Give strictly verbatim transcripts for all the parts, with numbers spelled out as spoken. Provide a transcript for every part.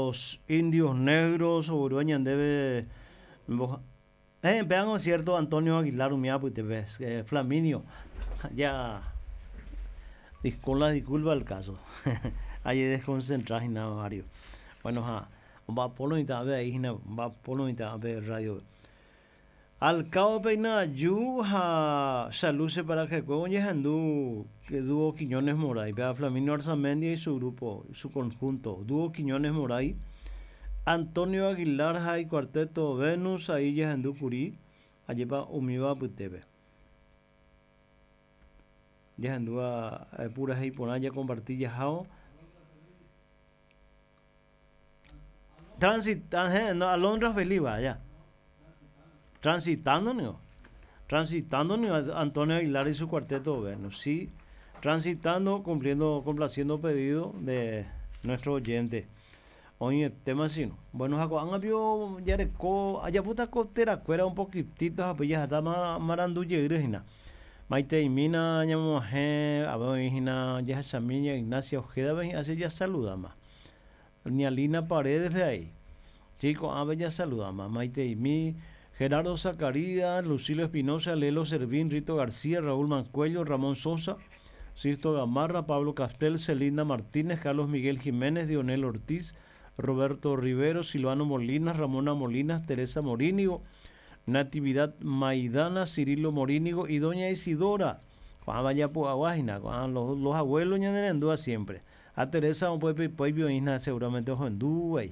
Los Indios Negros, ñandéve eh, vean cierto Antonio Aguilar umíva eh, Flaminio ya con la disculpa del caso ahí desconcentrado nada Mario. Bueno, ja va polo y ahí va polo y radio al cabo peina yu ha saluce para que ñahendu que dúo Quiñones Moray, vea Flaminio Arzamendia y su grupo, su conjunto, dúo Quiñones Moray, Antonio Aguilar y cuarteto Venus, ahí ñahendu kuri, ajépa umíva apytépe. Ñahendu a purahéi porã compartir jahao. Transitando, no, Alondra Feliz, ya. Transitando, no. Transitando, no, Antonio Aguilar y su cuarteto Venus, sí. Transitando, cumpliendo, complaciendo pedido de nuestro oyente. Oye, tema así, no. Bueno, ko'ág̃a jareko ajapóta ko terakuéra un poquitito ha jahata marandu jeýre. Maiteimína ñamog̃uahẽ avei jahechami Ignacia Ojeda así ya saludama. Ñalina Paredes ahí. Chico, a ya saludama. Maiteimi, Gerardo Zacarías, Lucilo Espinosa, Lelo Servín, Rito García, Raúl Mancuello, Ramón Sosa, Sisto Gamarra, Pablo Castel, Celinda Martínez, Carlos Miguel Jiménez, Dionel Ortiz, Roberto Rivero, Silvano Molinas, Ramona Molinas, Teresa Morínigo, Natividad Maidana, Cirilo Morínigo y Doña Isidora. Vaya los, los abuelos ñanerendúa siempre. A Teresa seguramente ohendúa.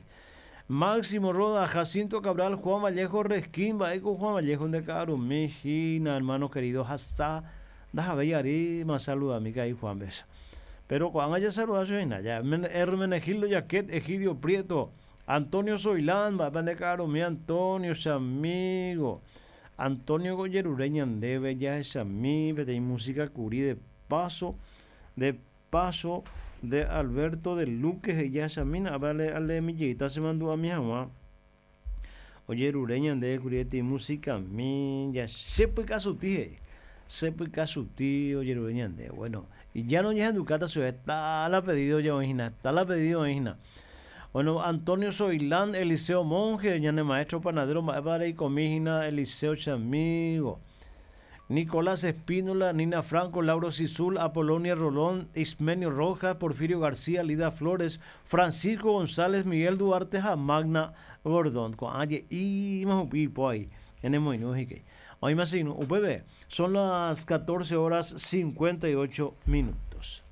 Máximo Roda, Jacinto Cabral, Juan Vallejo Resquín, va con Juan Vallejo de Carumejina, hermano querido, hasta Dajabellari, más saluda a mi y Juan Besa. Pero cuando haya saludado, ya Hermenegildo Yaquet, Egidio Prieto, Antonio Zoilán, va de Carumí, Antonio, su amigo, Antonio Goyerureña Andeve, ya es amigo, de música curí de paso, de paso de Alberto de Luque, ya es a vale, ale millita se mandó a mi mamá. Oye, Rureña de curiete música mi, ya sepa casuti, sepa casuti, oye, Rureña de, bueno, y ya no ya en Ducata se está la pedido ya imagina, está la pedido imagina. Bueno, Antonio Zoilán, Eliseo Monge, ya maestro panadero, vale y comígina, Eliseo Chamigo. Nicolás Espínola, Nina Franco, Lauro Sisul, Apolonia Rolón, Ismenio Rojas, Porfirio García, Lida Flores, Francisco González, Miguel Duarte, Magna Bordón. Y son las catorce horas cincuenta y ocho minutos.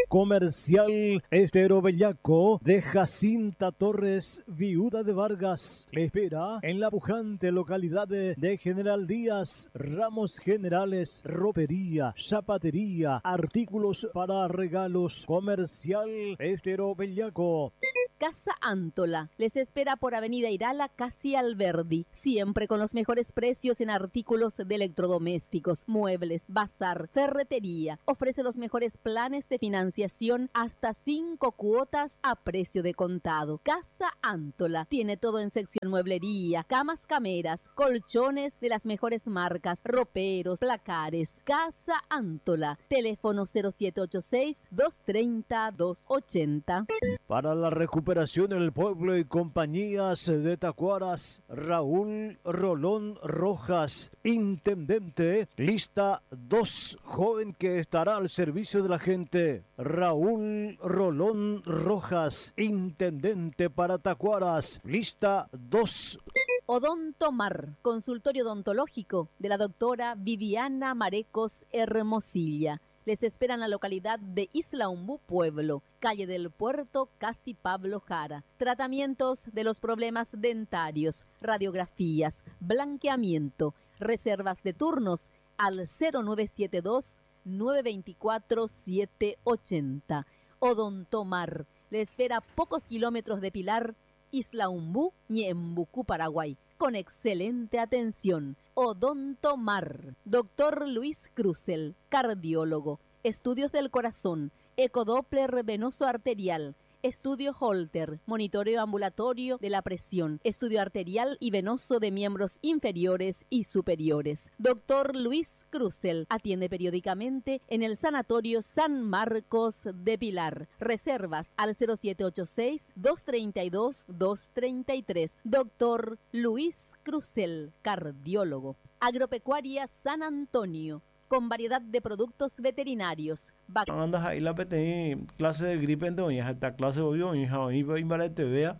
Comercial Estero Bellaco de Jacinta Torres, viuda de Vargas. Le espera en la pujante localidad de General Díaz. Ramos generales, ropería, zapatería, artículos para regalos. Comercial Estero Bellaco. Casa Antola les espera por Avenida Irala, casi Alberdi, siempre con los mejores precios en artículos de electrodomésticos, muebles, bazar, ferretería. Ofrece los mejores planes de financiación hasta cinco cuotas a precio de contado. Casa Antola tiene todo en sección mueblería, camas cameras, colchones de las mejores marcas, roperos, placares. Casa Antola, teléfono cero siete ocho seis, dos treinta, dos ochenta. Para la recuperación del pueblo y compañías de Tacuaras, Raúl Rolón Rojas, intendente, lista dos, joven que estará al servicio de la gente. Raúl Rolón Rojas, intendente para Tacuaras, lista dos. Odontomar, consultorio odontológico de la doctora Viviana Marecos Hermosilla. Les espera en la localidad de Isla Umbú, Pueblo, calle del Puerto, casi Pablo Jara. Tratamientos de los problemas dentarios, radiografías, blanqueamiento, reservas de turnos al cero nueve siete dos, nueve veinticuatro, siete ochenta. Odontomar le espera a pocos kilómetros de Pilar, Isla Umbú, Ñeembucú, Paraguay, con excelente atención. Odontomar. Doctor Luis Cruzel, cardiólogo, estudios del corazón, ecodoppler venoso arterial, Estudio Holter, monitoreo ambulatorio de la presión, estudio arterial y venoso de miembros inferiores y superiores. Doctor Luis Cruzel atiende periódicamente en el Sanatorio San Marcos de Pilar. Reservas al cero siete ocho seis, dos treinta y dos, dos treinta y tres. Doctor Luis Cruzel, cardiólogo. Agropecuaria San Antonio, con variedad de productos veterinarios. Vac- Andas ahí la peteí clase de gripe en doña, esta clase obvio, hija, hoy va a te vea,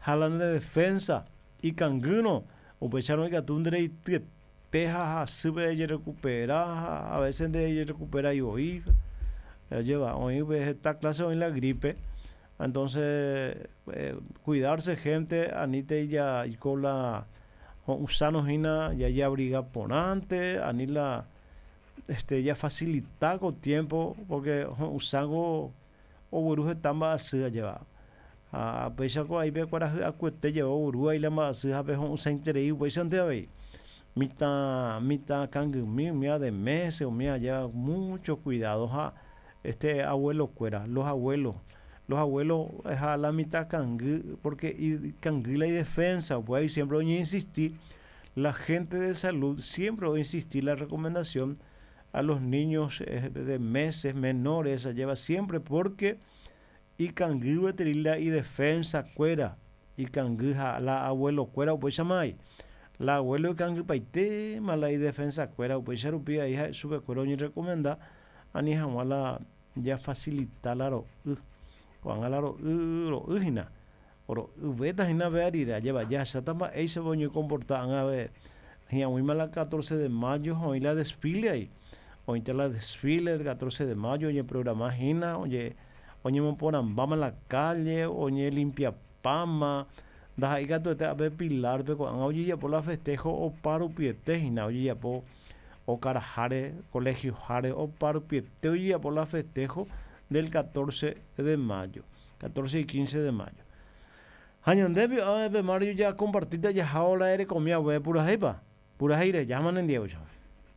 jalan de defensa y canguno, o pecharon que atundre y te teja, sube y recupera, a veces de ella recupera y hoy lleva, hoy ves esta clase hoy la gripe. Entonces, eh, cuidarse, gente, anite y ya, y con la usano hina, ya ya abriga por antes, anila, este, ya facilita con tiempo, porque usango o buruje tamba así lleva. A pesar que ahí ve cuál acuete llevó burú ahí la más así, a veces usa interés, pues antes ahí. Mita, mita cangumí, mía de meses, o mía lleva mucho cuidado, ja, este abuelo cuera, los abuelos. Los abuelos es a la mitad cangú, porque y cangú la defensa, pues ahí siempre voy a insistir, la gente de salud siempre voy a insistir la recomendación a los niños, eh, de meses menores, se lleva siempre porque y cangú veterila y defensa cuera, y cangú ja, la abuelo cuera, pues llamai. La abuelo de cangú paite, mala y defensa cuera, pues charupía, hija, sube cuero ni recomenda, a ni jamás ya facilita la ro, uh, cuando la ro, uh, ro, uh, hina. Oro, uh, veta hina ve arira, lleva ya, se tama, ey, se voño comportar, a ver, hina, muy mala catorce de mayo, hoy la desfile ahí. Hoy te la desfile el catorce de mayo, oye, programa hina, oye, oye, me ponen bama en la calle, oye, limpia pama, da ahí gato, te a ver pilar, pero cuando oye, ya por la festejo, o paro piete, hina, oye, ya por, o carajare, colegio jare, o paro piete, oye, ya por la festejo del catorce de mayo, catorce y quince de mayo. Añandebio, a ver, Mario, ya compartiste, ya ahora eres comida, güey, pura jaipa, pura jaire, ya manen diego, chao.